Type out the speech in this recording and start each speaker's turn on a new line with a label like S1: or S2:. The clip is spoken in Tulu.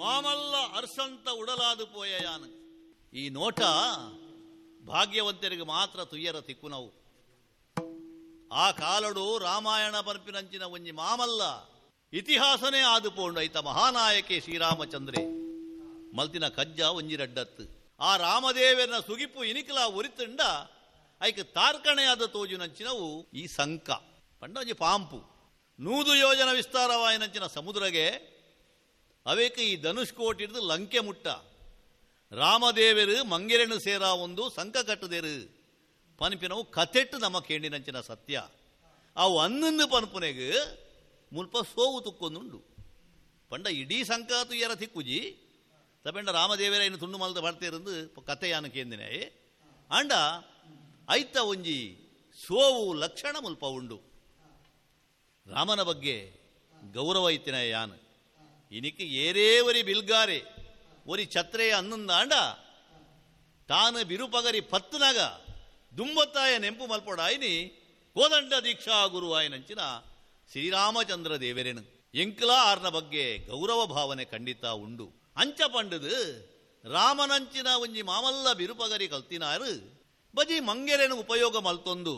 S1: ಮಾಮಲ್ಲ ಅರ್ಸಂತ ಉಡಲಾದು ಪೋಯಯಾನು. ಈ ನೋಟ ಭಾಗ್ಯವಂತರಿಗೆ ಮಾತ್ರ ತುಯ್ಯರ ತಿಕ್ಕುನವು. ಆ ಕಾಲಡು ರಾಮಾಯಣ ಪನ್ಪಿನಂಚಿನ ಒಂಜಿ ಮಾಮಲ್ಲ ಇತಿಹಾಸನೇ ಆದು ಪೋಂಡು. ಐತ ಮಹಾನಾಯಕೆ ಶ್ರೀರಾಮಚಂದ್ರೆ ಮಲ್ತಿನ ಕಜ್ಜ ಒಂಜಿ ರಡ್ಡತ್ತು. ಆ ರಾಮದೇವನ ಸುಗಿಪು ಇನಿಕಲ ಒರಿತುಂಡ ಐಕ್ ತಾರ್ಕಣೆಯಾದ ತೋಜುನಂಚಿನವು ಈ ಸಂಕ ಪಂಡ ಒಂಜಿ ಪಾಂಪು. 100 ಯೋಜನ ವಿಸ್ತಾರವಾಯಿನಂಚಿನ ಸಮುದ್ರಗೆ ಅವೇಕ ಈ ಧನುಷ್ಕೋಟಿಡ್ದು ಲಂಕೆ ಮುಟ್ಟ ರಾಮದೇವರು ಮಂಗೆರೆನು ಸೇರಾ ಒಂದು ಸಂಕ ಕಟ್ಟುದೇರು ಪನ್ಪಿನವು ಕತೆಟ್ಟು ನಮ್ಮ ಕೇಂಡಿನಂಚಿನ ಸತ್ಯ. ಅವು ಅನ್ನಂದು ಪನ್ಪುನೆಗ್ ಮುಲ್ಪ ಸೋವು ತುಕ್ಕೊಂದುಂಡು. ಪಂಡ ಇಡೀ ಸಂಕಾತು ಎರ ತಿಕ್ಕುಜಿ ತಪೆಂಡ ರಾಮದೇವರ ಇನ್ನು ತುಂಡು ಮಲ್ದ ಬರ್ತಿರಂದು ಕತೆಯಾನು ಕೇಂದಿನ ಆಂಡ ಐತ ಒಂಜಿ ಸೋವು ಲಕ್ಷಣ ಮುಲ್ಪ ಉಂಡು. ರಾಮನ ಬಗ್ಗೆ ಗೌರವ ಇತ್ತಿನ ಯಾನು ಇನಿಕ್ ಏರೇ ಒರಿ ಬಿಲ್ಗಾರೆ ಒರಿ ಛತ್ರೆಯ ಅನ್ನಂದಾಂಡ ತಾನು ಬಿರುಪಗರಿ ಪತ್ತುನಾಗ ದುಂಬತ್ತಾಯ ನೆಂಪು ಮಲ್ಪೊಡಾಯಿನಿ ಕೋದಂಡ ದೀಕ್ಷಾ ಗುರು ಆಯನಂಚಿನ ಶ್ರೀರಾಮಚಂದ್ರ ದೇವರೇನು ಎಂಕ್ಲಾ ಆರ್ನ ಬಗ್ಗೆ ಗೌರವ ಭಾವನೆ ಖಂಡಿತ ಉಂಡು. ಅಂಚ ಪಂಡದು ರಾಮನಂಚಿನ ಒಂಜಿ ಮಾಮಲ್ಲ ಬಿರುಪಗರಿ ಕಲ್ತಿನಾರು ಬಜಿ ಮಂಗೆರೆನು ಉಪಯೋಗ ಮಲ್ತೊಂದು